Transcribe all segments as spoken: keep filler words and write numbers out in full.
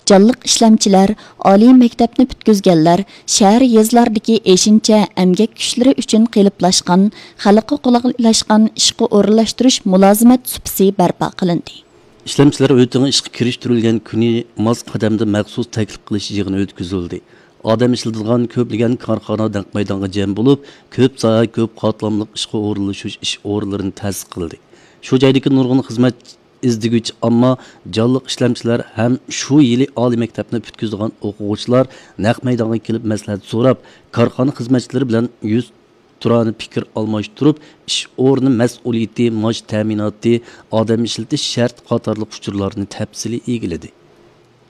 جانلىق ئىشلەمچىلەر، ئالىي مەكتەپنى پۈتكۈزگەنلەر، شەھەر، يېزىلاردىكى ئېشىنچە ئەمگەك كۈچلىرى ئۈچۈن قېلىپلاشقان، خەلققە قولايلاشقان ئىشقا ئورۇنلاشتۇرۇش مۇلازىمەت سۇپىسى بەرپا قىلىندى. ئىشلەمچىلەر ئۆتىڭى ئىشقا كىرىشتۈرۈلگەن كۈنى ماس قەدەمدە مەخسۇس تەكلىپ قىلىش يىغىنى ئۆتكۈزۈلدى. ئادەم ئىشلىتىدىغان كۆپلىگەن كارخانا نەق مەيدانغا جەم بولۇپ، كۆپ ساھە، كۆپ قاتلاملىق ئىشقا ئورۇنلىشىش ئىش ئورۇنلىرىنى تەسىس قىلدى. شۇ جايدىكى نۇرغۇن خىزمەت ئىزدىگۈچى ئامما، جانلىق ئىشلەمچىلەر ھەم شۇ يىلى ئالىي مەكتەپنى پۈتكۈزىدىغان ئوقۇغۇچىلار نەق مەيدانغا كېلىپ مەسلىھەت سوراپ، كارخانا خىزمەتچىلىرى بىلەن يۈز تۇرانە پىكىر ئالماشتۇرۇپ، ئىش ئورنى مەسئۇلىيىتى، مائاش تەمىناتى، ئادەم ئىشلىتىش شەرتى قاتارلىق ئۇچۇرلارنى تەپسىلىي ئىگىلىدى.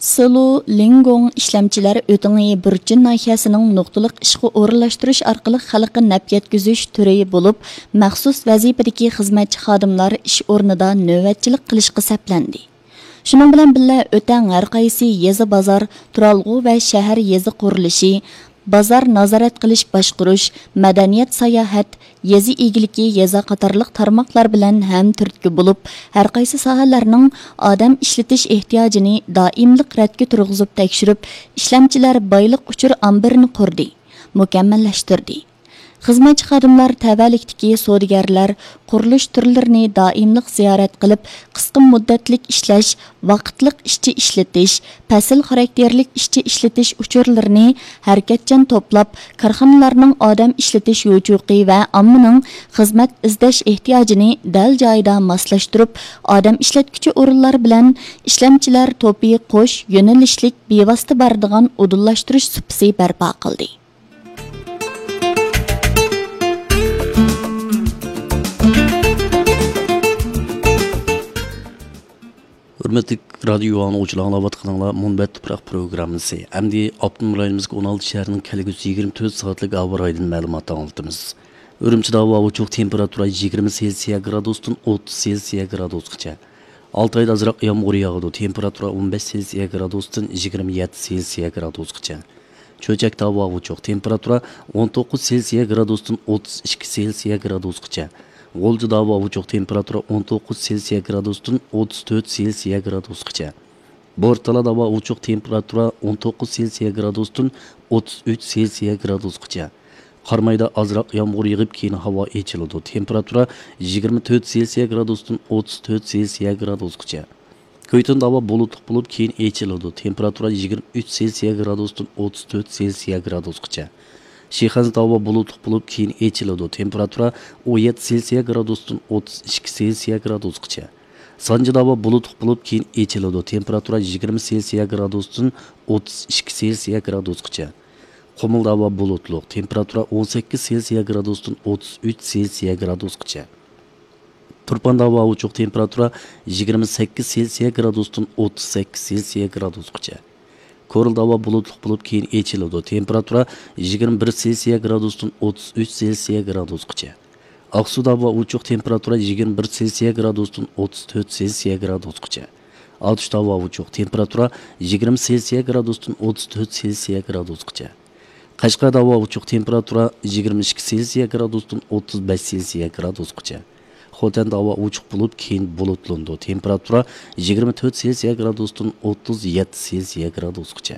سىلۇ لىڭگوڭ ئىشلەمچىلەر ئۆتىڭى بۇرچىن ناھىيەسىنىڭ نۇقتىلىق ئىشقا ئورۇنلاشتۇرۇش ئارقىلىق خەلققە نەپ يەتكۈزۈش تۈرى بولۇپ، مەخسۇس ۋەزىپىدىكى خىزمەتچى خادىملار ئىش ئورنىدا نۆۋەتچىلىك قىلىشقا سەپلەندى. شۇنىڭ بىلەن بىللە، ئۆتەڭ ھەر قايسى يېزا، بازار، تۇرالغۇ ۋە شەھەر، يېزا قۇرۇلۇشى، بازار نازارەت قىلىش، باشقۇرۇش، مەدەنىيەت، ساياھەت، يېزا ئىگىلىكى، يېزا قاتارلىق تارماقلار بىلەن ھەم تۈرتكە بولۇپ، ھەر قايسى ساھەلەرنىڭ ئادەم ئىشلىتىش ئېھتىياجىنى دائىملىق رەتكە تۇرغۇزۇپ تەكشۈرۈپ، ئىشلەمچىلەر بايلىق ئۇچۇر ئامبىرىنى قۇردى، مۇكەممەللەشتۈردى. خىزمەتچى خادىملار تەۋەلىكتىكى سودىگەرلەر، قۇرۇلۇش تۈرلىرىنى دائىملىق زىيارەت قىلىپ، قىسقا مۇددەتلىك ئىشلەش، ۋاقىتلىق ئىشچى ئىشلىتىش، پەسىل خاراكتېرلىك ئىشچى ئىشلىتىش ئۇچۇرلىرىنى ھەرىكەتچان توپلاپ، كارخانىلارنىڭ ئادەم ئىشلىتىش يوچۇقى ۋە ئاممىنىڭ خىزمەت ئىزدەش ئېھتىياجىنى دەل جايىدا ماسلاشتۇرۇپ، ئادەم ئىشلەتكۈچى ئورۇنلار بىلەن ئىشلەمچىلەر توپى قوش يۆنىلىشلىك بىۋاسىتە بارىدىغان ئۇدۇللاشتۇرۇش سۇپىسى بەرپا قىلدى. ھۆرمەتلىك رادىيو ئاڭلىغۇچىلار، ئاڭلاۋاتقىنىڭلار مۇنبەت تۇپراق پروگراممىسى. ئەمدى ئاپتونوم رايونىمىزدىكى ئون ئالتە شەھەرنىڭ كەلگۈسى يىگىرمە تۆت سائەتلىك ھاۋا رايىدىن مەلۇمات ئاڭلىتىمىز. ئۈرۈمچىدە ھاۋا ئوچۇق، تېمپېراتۇرا يىگىرمە سېلسىيە گرادۇستىن ئوتتۇز سېلسىيە گرادۇسقىچە. ئالتايدا ئازراق يامغۇر ياغىدۇ، تېمپېراتۇرا ئون بەش سېلسىيە گرادۇستىن يىگىرمە يەتتە سېلسىيە گرادۇسقىچە. چۆچەكتە ھاۋا ئوچۇق، تېمپېراتۇرا ئون توققۇز سېلسىيە گرادۇستىن ئوتتۇز ئىككى سېلسىيە گرادۇسقىچە. غۇلجىدا ھاۋا ئوچۇق، تېمپېراتۇرا ئون توققۇز سېلسىيە گرادۇستىن ئوتتۇز تۆت سېلسىيە گرادۇسقىچە. بورتالادا ھاۋا ئوچۇق، تېمپېراتۇرا ئون توققۇز سېلسىيە گرادۇستىن ئوتتۇز ئۈچ سېلسىيە گرادۇسقىچە. قارامايدا ئازراق يامغۇر يېغىپ، كېيىن ھاۋا ئېچىلىدۇ، تېمپېراتۇرا يىگىرمە تۆت سېلسىيە گرادۇستىن ئوتتۇز تۆت سېلسىيە گرادۇسقىچە. كۆيتۈندە ھاۋا بۇلۇتلۇق بولۇپ، كېيىن ئېچىلىدۇ، تېمپېراتۇرا يىگىرمە ئۈچ سېلسىيە گرادۇستىن ئوتتۇز تۆت سېلسىيە گرادۇسقىچە. شىخەنزىدە ھاۋا بۇلۇتلۇق بولۇپ، كېيىن ئېچىلىدۇ، تېمپېراتۇرا ئون يەتتە سېلسىيە گرادۇستىن ئوتتۇز ئىككى سېلسىيە گرادۇسقىچە. سانجىدا ھاۋا بۇلۇتلۇق بولۇپ، كېيىن ئېچىلىدۇ، تېمپېراتۇرا يىگىرمە سېلسىيە گرادۇستىن ئوتتۇز ئىككى سېلسىيە گرادۇسقىچە. قۇمۇلدا ھاۋا بۇلۇتلۇق، تېمپېراتۇرا ئون سەككىز سېلسىيە گرادۇستىن ئوتتۇز ئۈچ سېلسىيە گرادۇسقىچە. تۇرپاندا ھاۋا ئوچۇق، تېمپېراتۇرا يىگىرمە سەككىز سېلسىيە گرادۇستىن ئوتتۇز سەككىز سېلسىيە گرادۇسقىچە. كورلىدا ھاۋا بۇلۇتلۇق بولۇپ، كېيىن ئېچىلىدۇ، تېمپېراتۇرا يىگىرمە بىر سېلسىيە گرادۇستىن ئوتتۇز ئۈچ سېلسىيە گرادۇسقىچە. ئاقسۇدا ھاۋا ئوچۇق، تېمپېراتۇرا يىگىرمە بىر سېلسىيە گرادۇستىن ئوتتۇز تۆت سېلسىيە گرادۇسقىچە. ئاتۇشتا ھاۋا ئوچۇق، تېمپېراتۇرا يىگىرمە سېلسىيە گرادۇستىن ئوتتۇز تۆت سېلسىيە گرادۇسقىچە. قەشقەردە ھاۋا ئوچۇق، تېمپېراتۇرا يىگىرمە ئىككى سېلسىيە گرادۇستىن ئوتتۇز بەش سېلسىيە گرادۇسقىچە. خوتەندە ھاۋا ئوچۇق بولۇپ، كېيىن بۇلۇتلىنىدۇ، تېمپېراتۇرا يىگىرمە تۆت سېلسىيە گرادۇستىن ئوتتۇز يەتتە سېلسىيە گرادۇسقىچە.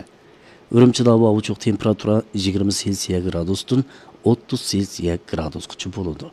ئۈرۈمچىدە ھاۋا ئوچۇق، تېمپېراتۇرا يىگىرمە سېلسىيە گرادۇستىن ئوتتۇز سېلسىيە گرادۇسقىچە بولىدۇ.